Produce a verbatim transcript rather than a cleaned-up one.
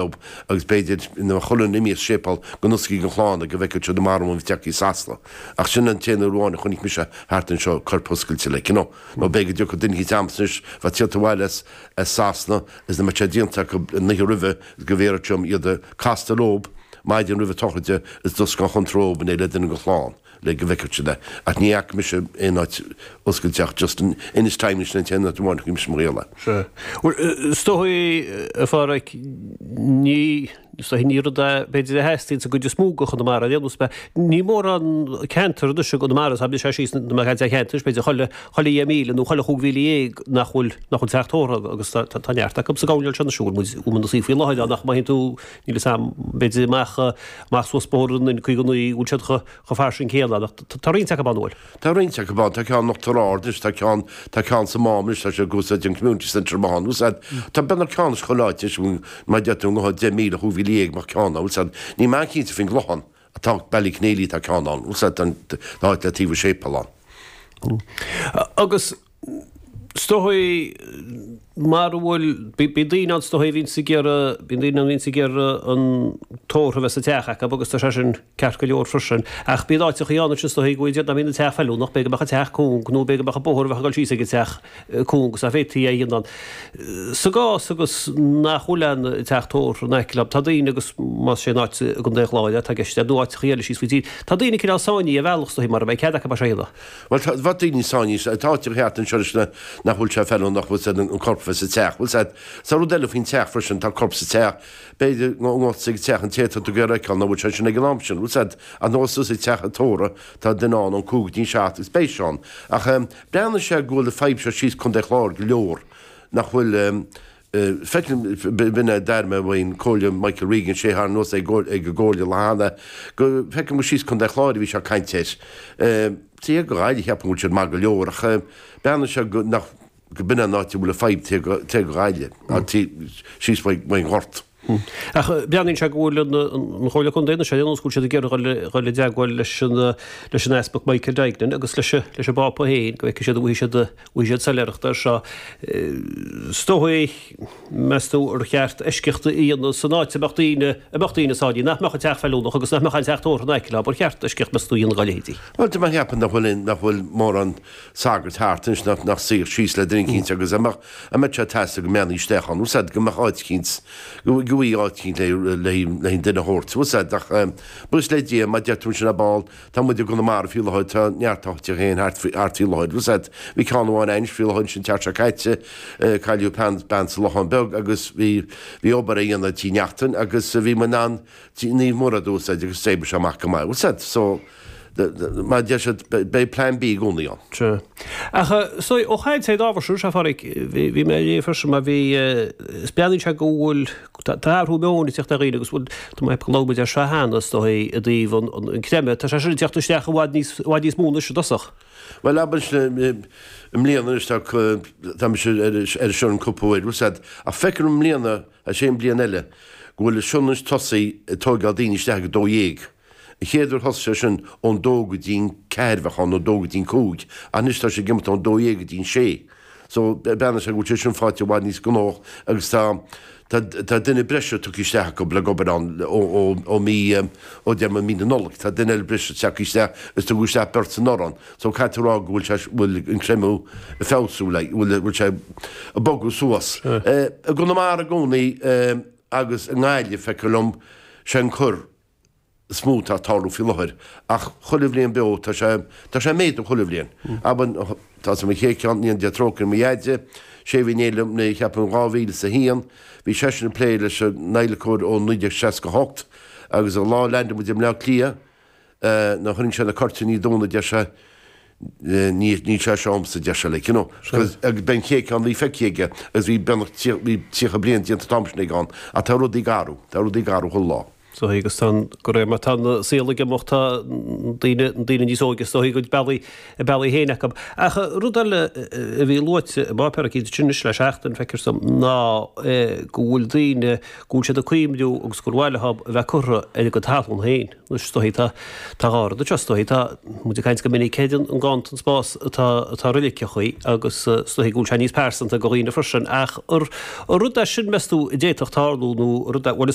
Agus b'fhéidir ina chuile imí séipéal go n-osclaíonn an chlann go bhfeicfidh siad marbh an teach i Sasana. Ach sin an t-aon uair amháin a chonaic mise thart anseo corp oscailte like, you know. Nó b'fhéidir go dtiocfadh duine eicínt a'msa anois bheadh tíocht abhaile as as Sasana is na mbeadh sé déanta acu an oíche roimhe is go bhféadfadh siad iad a castáil leob maidin roimhe tsochraide is d'oscail an chontrób in éineacht le duine den chlann le go bhfeicfeadh siad é. Ach ní fhaca mise aon áit oscailte ach just in Inis Time sin an t-aon áit amháin a chonaic mise mar gheall air. Sea. Bhuel, is dóigh, a Pháraic, ní, is dóigh ní rud é b'fhéidir a theastaíonn sa gcuid is mó de Chonamara ar aon nós, ní mórán ceantar anois i gConamara, tá sé síos na mar cheantar, b'fhéidir chuile, chuile dheich míle nó chuile chúig mhíle dhéag nach bhfuil, nach bhfuil teach tórraimh agus tá, tá neart acu sa gcoirnéal seo anois a bhfuil muid, bhfuil muid ina suí faoi láthair ann ach má théann tú, níl fhios a'm, b'fhéidir amach, amach suas bóthar an N caoga naoi, bhfuil siad chomh, chomh fairsing céanna ach tá roinnt acu ann, an bhfuil? Tá roinnt acu ann, tá ceann in Uachtar Ard anois, tá ceann, tá ceann sa Mám anois, tá sé ag úsáid an Community Centre amach ann, bhfuil fhios a'd, tá beagnach ceann is chuile áit anois, má deir tú i ngotha deich míle, chúig mhíle dhéag, mbeadh ceann ann, bhfuil fhios a'd, níl mé an-chinnte faoin gClochán, atá Ballyconneely tá ceann ann, bhfuil fhios a'd, tá áit le taobh an séipéil ann. Agus is dóigh mar a bhfuil, bíonn daoine ann is dóigh a bhíonns ag iarraidh, bíonn daoine ann a bhíonns ag iarraidh an tórramh a bheith sa teach acu agus tá sé sin ceart go leor freisin. Ach bíonn áiteachaí ann ansin is dóigh go bhfuil, dá mbíonn an teach feiliúnach, b'fhéidir go mbeadh an teach cúng nó b'fhéidir go mbeadh an bóthar a bheadh ag dul síos ag an teach cúng agus nach bhféadfaí é a dhéanamh ann. Sa gcás agus nach bhfuil aon teach tórraimh in aice leo, tá daoine agus más sé an áit i gContae an Chláir atá i gceist nó áiteachaí eile síos faoi dtír, tá daoine cineál sáinnithe ar bhealach is dóigh mara mbeidh cead acu é seo a dhéanamh. Bhuel, tá, bheadh daoine sáinnithe, tá áiteacha thart anseo leis na, nach bhfuil sé feiliúnach, bhfuil 's a'd, an corp bheith sa teach, bhfuil 's a'd. Tá rud eile faoin teach freisin, tá corp sa teach, b'fhéidir go ngabhfá ag teach an té atá tú ag iarraidh a fheiceáil, nach bhfuil sé sin ag an am sin, bhfuil 's a'd. Ach nó suas ag teach an tórraimh, tá duine ann ón cúig go dtí an seacht agus beidh sé ann. Ach breathnaíonn sé go bhfuil an fadhb seo síos Contae Chláir go leor, nach bhfuil, Feicim, b'in é a d'airigh mé uaidh an Comhairle Michael Regan, sé thar nós ag an gComhairle cheana, go feicim go síos Contae Chláir a bhí sé ag caint air. Taobh go Gaillimh cheapfainn go bhfuil siad maith go leor ach breathnaíonn sé go nach go b'in an áit a bhfuil an fadhb taobh go Gaillimh, síos faoin nGort. Ach breathnaíonn sé go bhfuil an Chomhairle Contae anois ar aon nós go bhfuil siad ag iarraidh dhul i dteagmháil leis an leis an Easpag Michael Duignan agus leis leis an bPápa féin go bhfeicfidh siad an bhfaighidh siad bhfaighidh siad soiléireacht air seo. Is dóigh, meas tú, ar cheart eisceacht a dhéanamh san áit a mbeadh daoine, a mbeadh daoine sáinnithe, nach mbeadh an teach feiliúnach agus nach mbeadh an teach tórraimh in aice leo, ar cheart eisceacht, meas tú, a dhéanamh dá leithéidí? Bhuel, tá mé ag ceapadh nach bhfuil, nach bhfuil mórán sagart thart anois nach, nach suífeadh síos le duine eicínt agus a mbeadh, a mbeadh sé ag teastáil go mbeannaí isteach ann, bhfuil 's a'd, go mbeadh áit eicínt, go, go bhfaighidh áit eicínt le, le, le an duine a thabhairt, bhfuil 's a'd, ach, buíochas le Dia, mar a deir tú ansin ar ball, Tá muid i gConamara faoi láthair, tá neart áiteacha féin thart faoi thart faoi láthair. Bhfuil 's a'd, bhí ceann amháin a'inn faoi láthair ansin an tseachtain seo caite, cailleadh bean, bean sa Lochán Beag agus bhí, bhí obair á dhéanamh tigh Neachtain agus bhí muid in ann tigh Naomh Murad a úsáid agus d'oibrigh sé amach go maith. Bhfuil 's a'd, so, mar a deir siad, beidh plan B i gcónaí ann. Sea. Ach, so, ó chaint ar an ábhar seo, a Pháraic, bhí, bhí mé ag léamh freisin mar bhí, is breathnaíonn sé go bhfuil, Tá athrú meoin ag teacht ar dhaoine agus bhuel, tá mé ag labhairt muid air seo cheana, is dóigh, i dtaobh an creimeadh. Tá sé sin ag teacht isteach i bhfad níos, i bhfad níos mó anois i dtosach. Bhuel, abair i mbliana anois tá, tá mise ar ar sionainn cúpla uair, bhfuil 's a'd, ach feicim i mbliana, is é an bliain eile, go bhfuil an sionainn anois tosaithe ag tóigeáil daoine isteach ag a dó dhéag. An chéad uair thosaigh sé sin ón dó go dtí'n ceathair bheadh ann, nó dó go dtí'n cúig, ach anois tá sé ag imeacht ón dó dhéag go dtí'n sé. So, breathnaíonn sé go bhfuil sé sin faighte i bhfad níos gnóthach agus tá, tá, tá duine breise tugtha isteach acu le obair ann ó, ó, ó mí, ó deir mé mí na Nollag. Tá duine eile breise tagtha isteach agus tugadh isteach beirt anuraidh ann. So, caithfidh tú a rá go bhfuil sé, bhfuil an creimeadh ag feabhsú, like, bhfuil, bhfuil sé ag bogadh suas. I gConamara i gcónaí agus i nGaillimh, feictear liom, sé an cor, is mó atá ag tarlú faoi láthair ach chuile bhliain beo tá sé, tá sé ag méadú chuile bhliain. Abair, tá sa mo chéad cheann, ní an Dia trócaire mo dheaide, sé a bhí in éindí liom, ní cheapaim dhá mhíle is a haon, bhí seisean ag plé leis an adhlacóir ó naoi déag seasca a hocht agus an lá a leaindeáil muid i mBleá Cliath, nuair a tharraing sé na cuirtíní dúinn a deir sé, Ní, níl sé seo a'msa, a deir sé, like, you know. Because, agus b'é an chéad ceann a bhí feicthe aige agus bhí beagnach, bhí tríocha bliain déanta an t-am sin aige ann. Ach tá rudaí ag athrú, tá rudaí ag athrú chuile lá. So agus tá go réir mar tá an saol ag imeacht tá daoine daoine níos óige so go bealaí a bealaí féin acu. Ach rud eile a bhí luaite i bpáipéar eicínt sin anois le seachtain feictear dom ná go bhfuil daoine go bhfuil siad ag cuimhniú agus gur mhaith leo a bheith curtha ar a gcuid talún féin. Anois is dóichí tá tá dhá rud anseo is dóichí tá muid ag caint go minic ar an nganntan spás atá atá roiliceachaí agus is dóichí go bhfuil sé níos pearsanta go dhaoine freisin ach ar rud é sin meas tú a d'fhéadfadh tarlú nó rud é bhuel is